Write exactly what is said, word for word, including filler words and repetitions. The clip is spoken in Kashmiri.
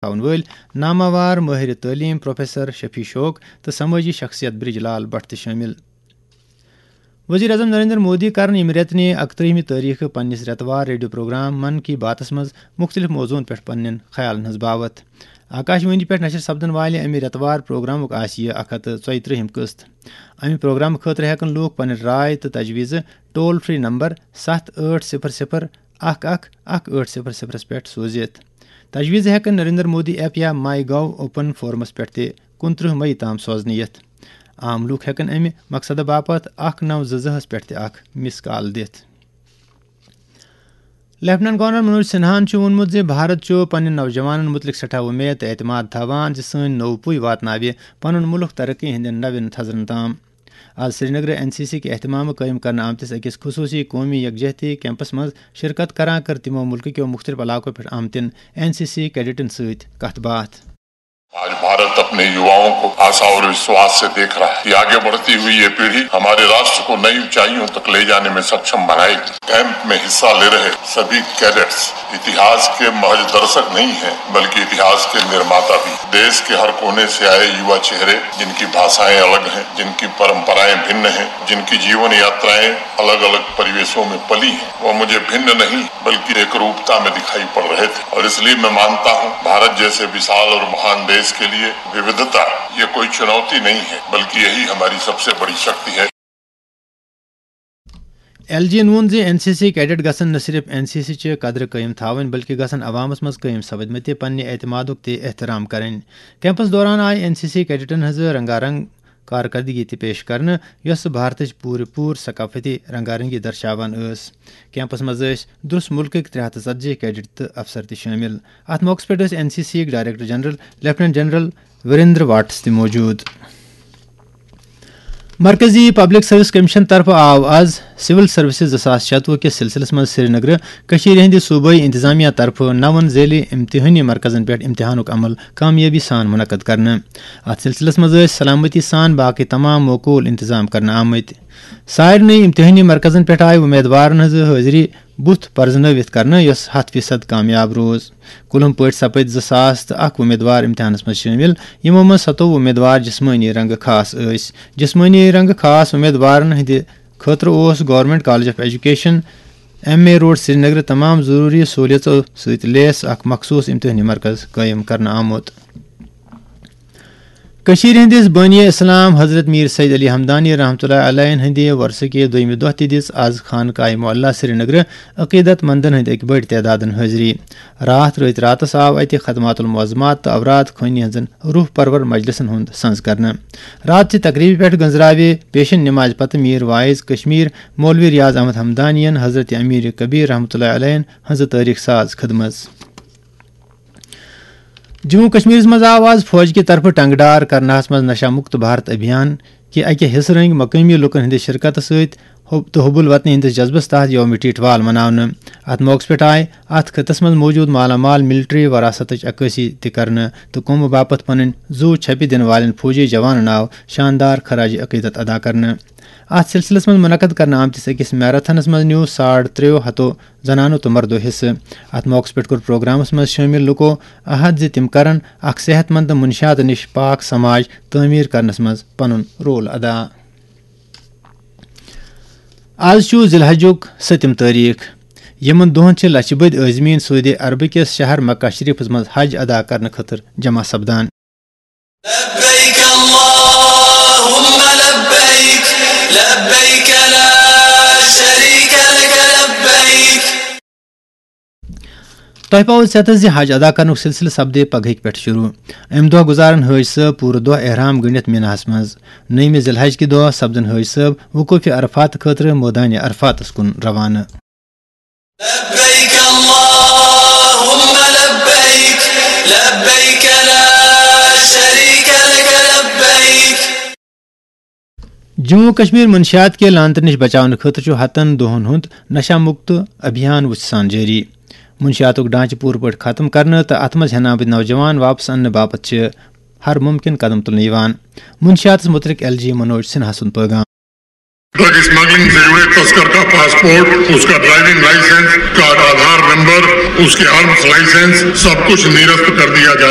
تھاون وٲلۍ ناماوار مٲہِر تعلیٖم پروفیسر شفیع شوق تہٕ سمٲجی شخصیت برج لال بٹ تہِ شٲمِل۔ وزیر اعظم نریندر مودی کرن ییٚمہِ رٮ۪تہٕ نہِ اکترٕہمہِ تٲریخہٕ پننِس رٮ۪تہٕ وار ریڈیو پروگرام من کی باتس منٛز مُختٔلِف موضوعن پٮ۪ٹھ پننٮ۪ن خیالن ہٕنٛز باوتھ۔ آکاش وانی پٮ۪ٹھ نشر سپدن والہِ امہِ رٮ۪تہٕ وار پروگرامُک آسہِ یہِ اکھ ہتھ تہٕ ژۄیہِ ترٕہِم قٕسط۔ امہِ پروگرامہٕ خٲطرٕ ہٮ۪کن لوٗکھ پنٕنۍ راے تہٕ تجویزٕ ٹول فری نمبر ستھ ٲٹھ صفر صفر اکھ اکھ اکھ ٲٹھ صفر صفرس پٮ۪ٹھ سوٗزِتھ۔ تجویزٕ ہٮ۪کن نریندر مودی ایپ یا مائی گو اوپن فورمس پٮ۪ٹھ تہِ کُنترٕہ مئی تام سوزنہٕ یِتھ۔ عام لوٗکھ ہٮ۪کن امہِ مقصدٕ باپتھ اکھ نو زٕ زٕ ہس پٮ۪ٹھ تہِ اکھ مس کال دِتھ۔ لیفٹیننٹ گورنر منوج سنہاہن چھُ ووٚنمُت زِ بھارت چھُ پننٮ۪ن نوجوانن مُتعلق سٮ۪ٹھاہ وۄمید تہٕ اعتماد تھاوان زِ سٲنۍ نوٚو پُے واتناوِ پنُن مُلک ترقی ہٕنٛدٮ۪ن نوٮ۪ن تھزرن تام۔ آز سرینگرٕ این سی سی کہِ اہتمامہٕ قٲیِم کرنہٕ آمتِس أکِس خصوٗصی قومی یکجہتی کیمپس منٛز شرکت کران کٔر تِمو مُلکہٕ کیو مُختٔلِف علاقو پٮ۪ٹھ آمتٮ۪ن این سی سی کیڈٹن سۭتۍ کتھ باتھ۔ آج بھارت اپنے یواؤں کو آسا اور وشواس سے دیکھ رہا ہے کہ آگے بڑھتی ہوئی یہ پیڑھی ہمارے راشٹر کو نئی اونچائیوں تک لے جانے میں سکشم بنائے گی۔ کیمپ میں حصہ لے رہے سبھی کیڈٹس اتہاس کے محض درشک نہیں ہیں، بلکہ اتہاس کے نرماتا بھی۔ دیش کے ہر کونے سے آئے یوا چہرے، جن کی بھاشائیں الگ ہیں، جن کی پرمپرائیں بھن ہیں، جن کی جیون یاترائیں الگ الگ پریویشوں میں پلی ہیں، وہ مجھے بھن نہیں، بلکہ ایک روپتا میں دکھائی پڑ رہے تھے۔ اور اس لیے میں مانتا ہوں، بھارت جیسے وشال اور महान देश के लिए विविधता ये कोई चुनौती नहीं है, बल्कि यही हमारी सबसे बड़ी शक्ति है। ایل جی ین ووٚن زِ این سی سی کیڈٹ گژھن نہ صرف این سی سی چہِ قدرٕ قٲیِم تھاوٕنۍ، بلکہِ گژھن عوامس منٛز قٲیِم سپدمٕتہِ پننہِ اعتمادُک تہِ احترام کرٕنۍ۔ کیمپس دوران آیہِ این سی سی کیڈٹن ہٕنٛز رنگا رنگ کارکردگی تہِ پیش کرنہٕ، یۄس بھارتٕچ پوٗرٕ پوٗرٕ ثقافتی رنگا رنگی درشاوان ٲس۔ کیمپس منٛز ٲسۍ درس مُلکٕکۍ ترٛےٚ ہتھ تہٕ ژتجی کیڈٹ تہٕ افسر تہِ شٲمِل۔ اتھ موقعس پٮ۪ٹھ ٲسۍ این سی سی یٕکۍ director general lieutenant general Virender Vats تہِ موجود۔ مرکزی پبلک سروس کمیشن طرفہٕ آو آز سول سروسز زٕ ساس شتوُہ کِس سلسلس منٛز سرینگرٕ کٔشیٖرِ ہٕنٛدِ صوبٲئی انتظامیہ طرفہٕ نون ذیلی امتحٲنی مرکزن پٮ۪ٹھ امتحانُک عمل کامیٲبی سان منعقد کرنہٕ۔ اتھ سلسلس منٛز ٲسۍ سلامتی سان باقٕے تمام معقول انتظام کرنہٕ آمٕتۍ۔ سارنٕے امتحٲنی مرکزن پٮ۪ٹھ آیہِ امیدوارن ہٕنٛز حٲضری بُتھ پرزنٲوِتھ کرنہٕ، یۄس ہتھ فیصد کامیاب روٗز۔ کُلہُم پٲٹھۍ سپٕدۍ زٕ ساس تہٕ اکھ امیدوار امتحانس منٛز شٲمِل، یِمو منٛز ستووُہ امیدوار جسمٲنی رنگہٕ خاص ٲسۍ۔ جسمٲنی رنگہٕ خاص امیدوارن ہٕنٛدِ خٲطرٕ اوس government college of education M A road سرینگرٕ تمام ضروٗری سہوٗلیژو سۭتۍ لیس اکھ مخصوٗص امتحٲنی مرکز قٲیِم کرنہٕ آمُت۔ کٔشیٖرِ ہٕنٛدِس بٲنی اسلام حضرت میر سید علی ہمدانی رحمتہ اللہ علیہ ہٕنٛدِ وۄرثہٕ کہِ دوٚیمہِ دۄہ تہِ دِژ از خانقاہ معلیٰ سرینگرٕ عقیدت مندن ہٕنٛدِ اکہِ بٔڑۍ تعدادن حٲضری۔ راتھ رٲتۍ راتس آو اتہِ خدمات المعظمات تہٕ اوراد خوانی ہٕنٛزن روح پرور مجلسن ہُنٛد سنز کرنہٕ۔ راتچہِ تقریبہِ پٮ۪ٹھ گنزراوِ پیشن نمازِ پتہٕ میر واعظ کشمیر مولوی ریاض احمد ہمدانین حضرت امیر کبیر رحمتہ اللہ علیہ ہٕنٛزٕ تٲریخ ساز خدمژ۔ جموں کشمیرس منٛز آو آز فوج کہِ طرفہٕ ٹنگہٕ ڈار کرناہس منٛز نشہ مکت بھارت ابھیان کہِ اکہِ حصہٕ رنگۍ مقٲمی لوٗکن ہٕنٛدِ شرکتہٕ سۭتۍ حب تہٕ حب الوطنی ہٕنٛدِس جذبس تحت یوم ٹیٹوال مناونہٕ۔ اتھ موقعس پٮ۪ٹھ آیہِ اتھ خطس منٛز موجود مالا مال ملٹری وراثتٕچ عکٲسی تہِ کرنہٕ تہٕ قومہٕ باپتھ پنٕنۍ زُو چھپہِ دِنہٕ والٮ۪ن فوجی جوانن آو شاندار خراج عقیدت ادا کرنہٕ۔ اتھ سلسلس منٛز منعقد کرنہٕ آمتِس أکِس میراتھنس منٛز نیوٗ ساڑ ترٛیٚیو ہتو زنانو تہٕ مردو حصہٕ۔ اتھ موقعس پٮ۪ٹھ کوٚر پروگرامس منٛز شٲمِل لوٗکو عہد زِ تِم کرن اکھ صحت مند تہٕ منشیات نِش پاک سماج تعمیٖر کرنس منٛز پنُن رول ادا۔ آز چھُ ذی الحجُک سٔتِم تٲریخ۔ یِمن دۄہن چھِ لچھِ بٔدۍ عٲزمیٖن سعودی عربہٕ کِس شہر مکہ شریفس منٛز حج ادا کرنہٕ خٲطرٕ جمع سپدان۔ لبيك اللهم لبيك، لبيك لا شريك لك لبيك۔ تۄہہِ پاوو ژٮ۪تس زِ حج ادا کرنُک سلسلہٕ سپدِ پگہٕکۍ پٮ۪ٹھ شروع۔ امہِ دۄہ گُزارن حٲج صٲب پوٗرٕ دۄہ احرام گٔنڈِتھ میناہس منٛز۔ نٔیمہِ ذی الحج کہِ دۄہ سپدن حٲج صٲب وقوفِ عرفات خٲطرٕ مٲدانِ عرفاتس کُن روانہٕ۔ لبيك اللهم لبيك، لبيك لا شريك لك لبيك۔ جموں و کشمیر منشیات کہِ لعنتہٕ نِش بچاونہٕ خٲطرٕ چھُ ہتن دۄہن ہُنٛد نشہ مکت ابھیان وُژھِ سان جٲری۔ منشیاتُک ڈھانچہٕ پوٗرٕ پٲٹھۍ ختم کرنہٕ تہٕ اتھ منٛز ہٮ۪نہٕ آمٕتۍ نوجوان واپس اننہٕ باپتھ چھِ ہر ممکن قدم تُلنہٕ یِوان۔ منشیاتس مُتعلق ایل جی منوج سنہا سُنٛد پٲغام۔ ड्रग स्मगलिंग से जुड़े तस्कर का पासपोर्ट, उसका ड्राइविंग लाइसेंस, कार्ड, आधार नंबर, उसके आर्म्स लाइसेंस, सब कुछ निरस्त कर दिया जाएगा।